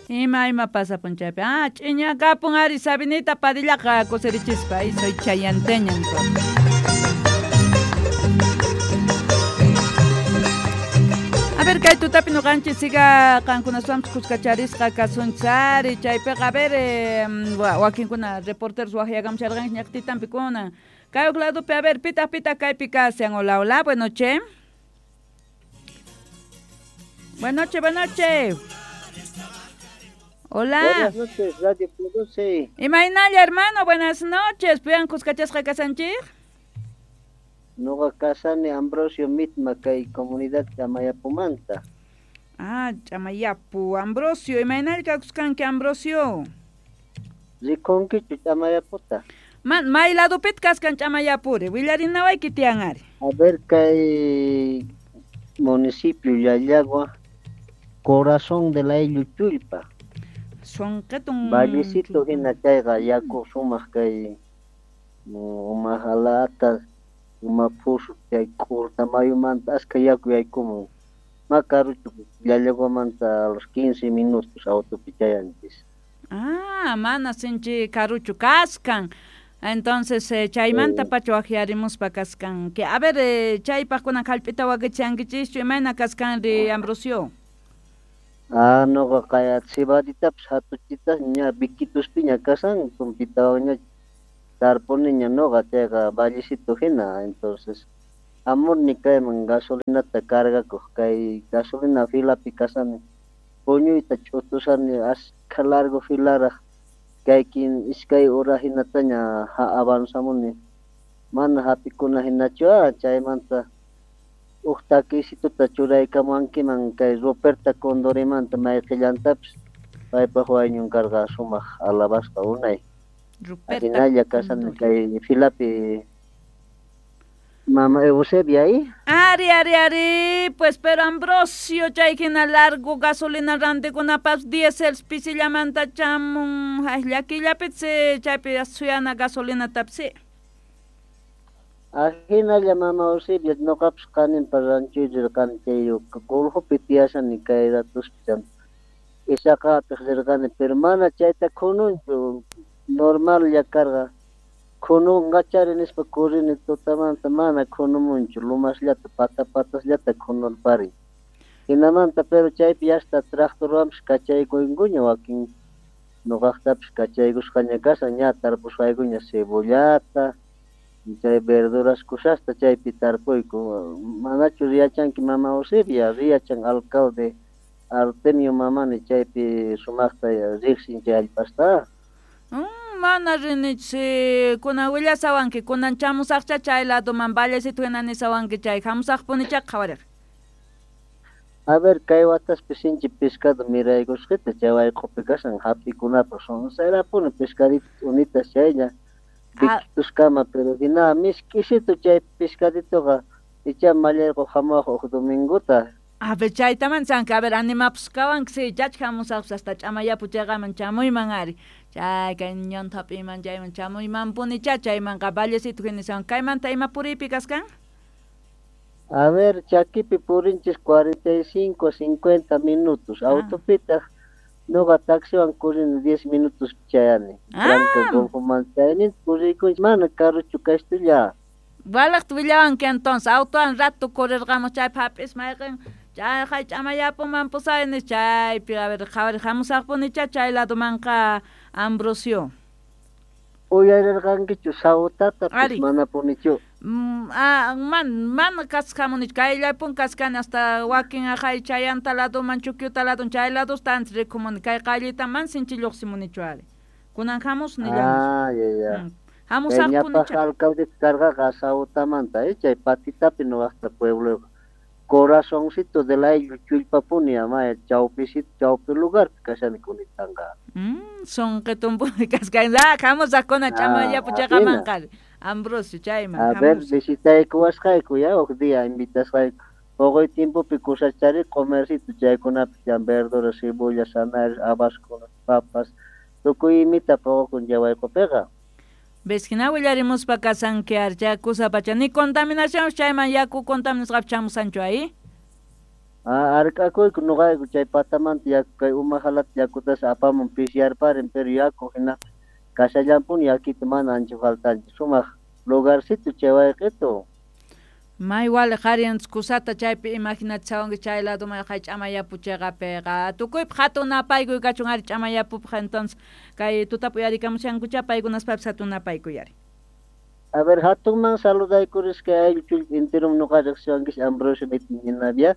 Ima pasapun chaypi. Ah, ch'iñakapun ari Sabinita Padillaqa kusirichispa. Ahí soy chayanteña entonces. A ver, kay tutapi nuqanchis siga qankunaswanpis kuskacharisqa kasunchari chaypiqa a ver wakinkuna reporteros waqyakamusharqanchik ñaqtitanpi kunan. Kay huk ladopi a ver pitaq pitaq kaypi kashan. Hola, hola, buenas noches. Buenas noches, buenas noches. Hola. Buenas noches, Radio Produce. Imaynalla, hermano, buenas noches. Piwan kuskachasqa kasanchik? Nuqa kasani Ambrosio Mitma kay comunidad Ch'amayapumanta. Ah, Ch'amayapu. Ambrosio, imaynalla kakuskanki, Ambrosio? Rikunkichu Ch'amayaputa? Man, may ladupit kaskan Ch'amayapuri. Willarinawayki tiyan ari. A ver, kay municipio Llallagua, corazón de la Chullpa. Sonqetun. Vallecito hina chayqa yaku sumaq kay uma halata, uma phusu chay k'urta mayumanta askha yaku yaykumun. Ma karuchu Llallaguamanta a los 15 minutos autopi chayanchis. Ah, mana sinchi karuchu kaskan. Entonces, chaymanta pacha waqyarimuspa kaskanki. A ver, chaypaq kunan hallp'ita wakichankinchischu, imayna kaskanri, Ambrosio? Ah, nuqa kay cebaditapas hatuchitas ña Viquituspiña kasan, tumpitawanña tarpuniña nuqa chayqa vallecito hina. Entonces, amurni kayman gasolinata cargakuq kay gasolina filapi kasani. Puñuyta ch'utusani askha largo filaraq kaykin iskay hora hinataña avanzamuni. Mana hap'ikuna hinachu chaymanta huk takisituta churaykamuwankiman kay Ruperta Condorimanta mayqillantapis paypaq wayñun karqa sumaq alabasqa unay. Ruperta Hinalla kasani kay filapi Mama Eusebia ahí. Ari, ari, ari, pues pero Ambrosio chay hina largo gasolina rantikunapas diesel pisillamanta chamun llakillapis chaypi suyana gasolina tapsi. Ahinalla Mama Eusebia nuqapas qaninpa ranchuy rirqani chay Golfopi tiyashani kay ratuspi Isaqapiq rirqani pero mana chayta khununchu normalla karqa. Khununqachari nispa kurini tutamanta mana khunumunchu lumasllata pata patasllata khunurparin. Hinamanta pero chaypi hasta tractorwanpis kachaykunkuña wakin nuqaqtapis kachaykusqaña kashan ña tarpusqaykuña cebollata chay verduras kusasta chaypi tarpuyku. Manachu riyachanki Mama Eusebia riyachan alcalde Artemio Mamani chaypi sumaqta riqsin chay allpasta. Mana rinichi kunan willasawanki kunan chamusaqcha chay ladoman vallecito hina nisawanki chay hamusaqpunicha qhawariq. A ver, kay wataspi sinchi pescado miraykusqita chay wayq'upi kashan hap'ikunapaq sonsayrapuni pescadito unitas chaylla Viquituskama pero hina misk'isitu chay pescaditoqa icha mallayqu hamuwaq huk domingota. A ver, chaytaman sanki, a ver, animapusqawanki si chach hamusaqpas hasta Ch'amayapu chayqaman chamuyman ari. Chay kay ñanta hap'iyman chayman chamuymanpunicha chaymanqa vallecito hina nisawan kaymanta ima puriypi kaskan? A ver, chakipi purinchis 45, 50 minutos. Autopitaq nuqa taxiwan kurini 10 minutos chayani. Tranca Golfoman chayani puriykunchis mana karuchu kashtulla. Walaqta willawanki entonces autowan rato correrqamus chaypi hap'is mayqin chay Ch'amayapuman pusayni chaypi a ver qhawari hamusaqpunicha chay ladomanqa Ambrosio. Uyarirqankichu Sautatapis manapunichu? Man kasqamunichu kayllapun kaskani hasta wakin aqhay chayanta ladoman Chukyuta ladon chay ladosta antes rikumuni kay qayllita man sinchi lluqsimunichu ari. Kunan hamus nillamos. Ah, ya, ya. Hamusaqpunicha. Ñapaq alcalde karqaqa Sautamanta, chay Patitapi nuqaqta pueblo corazoncito de la Chullpapuni ama chawpisito chawpi lugar kashani kunitanqa. Sonqetumpuni kaskan. Hamusaqkuna Ch'amayapu chayqamanqa Ambrosio chayman. A ver, visitaykuwasqayku ya huk día invitasqayku. Poqoy tiempopi kusachari comercito chaykunapi chan verdura, cebolla, zanahorias, habaskunas, papas, tukuy imita poqokun chay wayq'upiqa. Ves hina willarimuspa kasanki ari chay kusa pacha ni contaminación chayman yaku contaminasqapi chamusanchu ahí? Hark'akuyku nuqayku chay patamanta yaku kay uma halata yakutas apamun pisiyarparin, pero yaku hina kashallampuni yakita mana ancha faltanchu, sumaq lugarcito chay wayqito. May wale qhariyanchis kusata chaypi imaginachawanki chay ladoman kay ch'amayapu chayqapiqa tukuypaq hatun napaykuy kachun ari ch'amayapupaq, entonces kay tutapi uyarikamushankucha paykunaspapis hatun napaykuy ari. A ver, hatunman saludaykurisqa ayllu chullpa enterom nuqa riqsiwankish Ambrosio Ñinavia.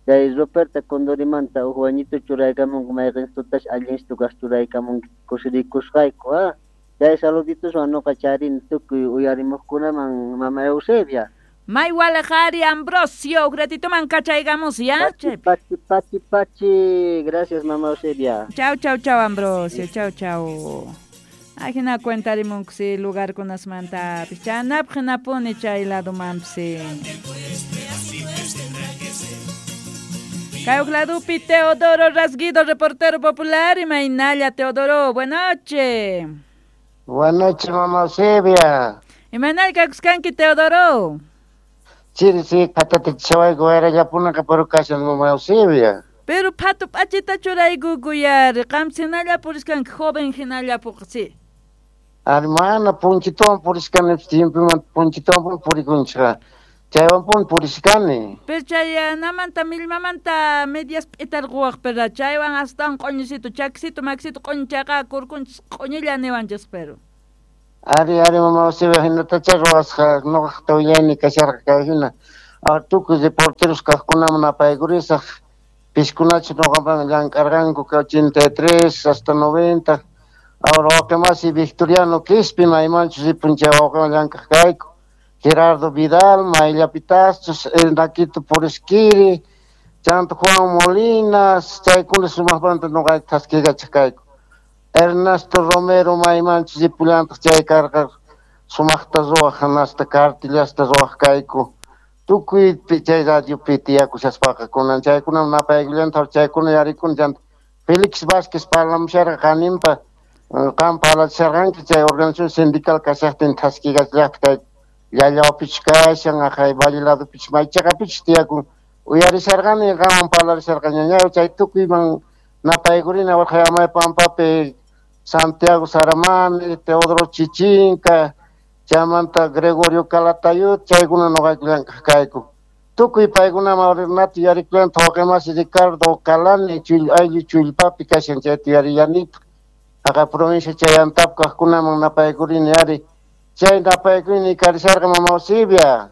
Chay Ruperta Condorimanta huk wañito churaykamunku mayqin tutash allinstu kaq churaykamunki kusirikusqayku, ah. Chay saludituswan nuqa charini tukuy uyarimuqkunaman mama Eusebia. May wale qhari Ambrosio, huk ratitoman kachaykamus, ya? Pachi, pachi, pachi, pachi. Gracias, mama Eusebia. Chau, chau, chau, Ambrosio. Chau, chau. Ajina cuentarimunku lugarkunasmantapis. Chanapaq hinapuni chay ladomanpis. Kay huk ladopi Teodoro Rasguido, reportero popular, imaynalla Teodoro, buenas noches. Buenas noches, mama Eusebia. Imaynalla kakuskanki, Teodoro. Sí, sí, qhatata chawayku wayrallapunaqa pero kashan mama Eusebia. Pero phatu p'achita churaykuku yari, qam hinalla puriskanki, joven hinalla puqsi. Ari mana punchituwan purishkani, tiempomanta punchituwan purikunchikqa. Chaywanpuni purishkani. Pero chay namanta millmamanta medias p'itarquwaq, pero chaywan astawan q'uñisito, chakisito, makisito q'uñichaqa kurkunchis q'uñilla niwanchis pero. Ari, ari, mama Eusebia, hinatacha ruwasqa nuqaqta willayni kasharqa kay hina. Tukuy reporteros kaqkunaman napaykurisaq, piskunachu nuqaman llank'arqanku 83 hasta 90. Ahora wawqimasi Victoriano Quispe maymanchus ripun chay wawqiwan llank'aq kayku. Gerardo Vidal, Mayllapitaschus, el Naquito Purisquiri, chanta Juan Molina, chaykuna sumaqmanta nuqayku thaskiykachaq kayku. Ernesto Romero maymanchus ripullantaq chay karqa sumaqta ruwaq hanasta cartillasta ruwaq kayku. Tukuy chay radiopi tiyakushaspaqa kunan chaykunam napaykullantaq chaykuna yarikuna chanta Félix Vázquez parlamusharqa qaninpa qam parlachisharqanki chay organización sindical kashaqtin thaskiykachillaqta kayku. Llallawpichu kashan, aqhay Valle ladopichu maychaqapichu tiyakun. Uyarisharqani qanwan parlarisharqaña chay tukuyman napaykurina warqay Pampapi Santiago Saramani, Teodoro Chichinca, chaymanta Gregorio Calatayud, chaykuna nuqayku llank'aq kayku. Tukuy paykunaman Renato yarikullanta wawqimasi Ricardo Calani ayllu chullpapi kashan chayta yarillanitaq. Aqhay provincia chay Antap kaqkunaman napaykurini ari. Chay napaykuyni karisharqa mama Eusebia.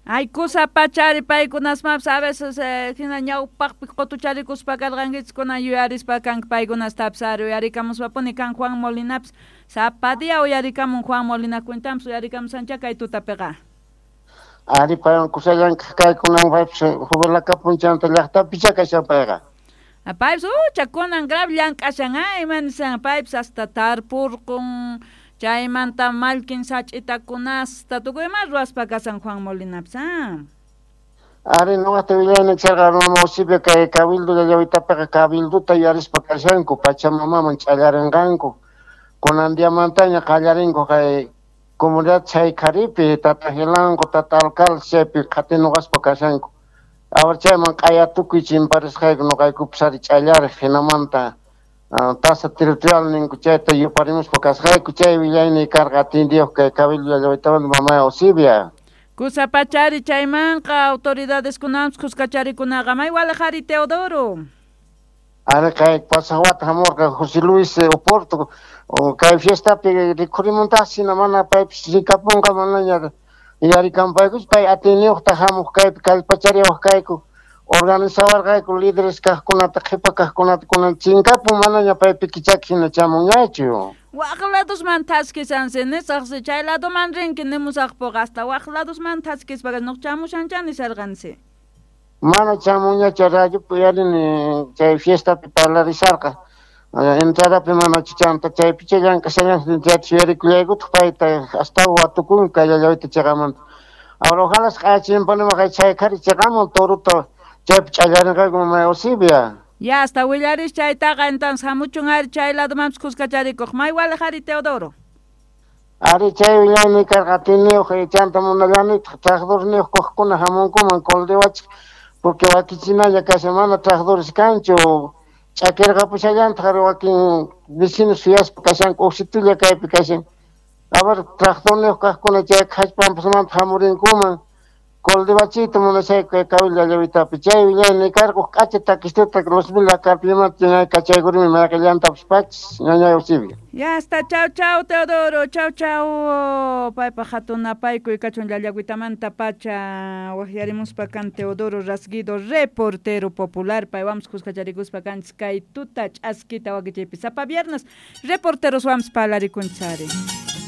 Ay, kusa pachari paykunasmapis a veces hina ñawpaqpi qutucharikuspa karqankichis kunan yuyarispa kanki paykunastapis ari uyarikamuspapuni kan Juan Molinapis sapa día uyarikamun Juan Molina cuentampis uyarikamusancha kay tutapiqa. Ari paywan kusa llank'aq kaykunan paypis jubilakapun chanta llaqtapicha kashan payqa. Paypis ucha kunan grave llank'ashan ima nisan paypis hasta tarpurqun chaymanta mallkin sach'itakunasta tukuy ima ruwaspa kasan Juan Molinapis. Ari nuqata willayni charqa mama Eusebia kay cabildo llallawitapiqa cabildota yuyarispa kashanku Pachamamaman ch'allarinqanku. Kunan diamantaña qallarinku kay comunidad Chaykaripi tata Gilanco, tata alcalde chaypi qhatinuqaspa kashanku. Ahora chayman q'aya tukuy chimparisqayku nuqaykupis ari ch'allariq hinamanta tasa territorial ninku chayta yuparimuspa kasqayku chay willayni karqa atindiyuq kay cabildo llallawitamanta mama Eusebia. Kusa pachari chaymanqa autoridadeskunampis kuskacharikunaqa may walaqari Teodoro. Ari kay pasaq wata hamurqa José Luis Oporto kay fiestapi rikhurimuntaqsi hina mana paypis rikapunqa manaña yarikanpaykuchu pay atiyniyuqta hamuq kaypi kallpachariwaq kayku organizawarqayku líderes kaqkunata qhipa kaqkunata kunan chinkapun manaña paypi kichaki hina chamunñachu. Waq ladosman thaskisansi nisaqsi chay ladoman rinki nimusaqpuqa hasta waq ladosman thaskispaqa nuq chamushancha nisarqansi. Mana chamunñachu radiopi uyarini chay fiestapi parlarisharqa. Entradapi mana chanta chaypicha llank'ashallan chayta yuyarikullaykutaq payta astawan watukun kay llallawita chiqamanta. Ahora ojalá q'ayachimpanima chay qhari chiqamun torota chaypi ch'allarinqayku mama Eusebia. Ya hasta willaris chaytaqa entonces hamuchun ari chay ladomanpis kuskacharikuq may walaqari Teodoro. Ari chay willayni karqa atiniyuq chanta munallanitaq tractorniyuq kaqkuna hamunkuman Coldehuachik Porque wakichinalla kashan mana tractores kanchu. Ch'akirqapushallantaq wakin vecinos suyaspa kashanku uqsitulla kaypi kashan. A ver, tractorniyuq kaqkuna chay hallp'ampasmanta hamurinkuman. Koldibachiyta munashayku kay kawilla llawitapi. Chay willayni karqu k'acha takistuta los mil carpimanta kachaykurimi mayqillantapis pachis ñañay Eusebia. Ya está, chau chau Teodoro, chau chau. Paypa hatun napaykuy kachun llallagüitamanta pacha waqyarimuspa kan Teodoro Rasguido, reportero popular. Paywamos kuskacharikuspa kanchis kay tuta ch'askita wakichaypi. Sapa viernes reporteros wams parlarikunchari.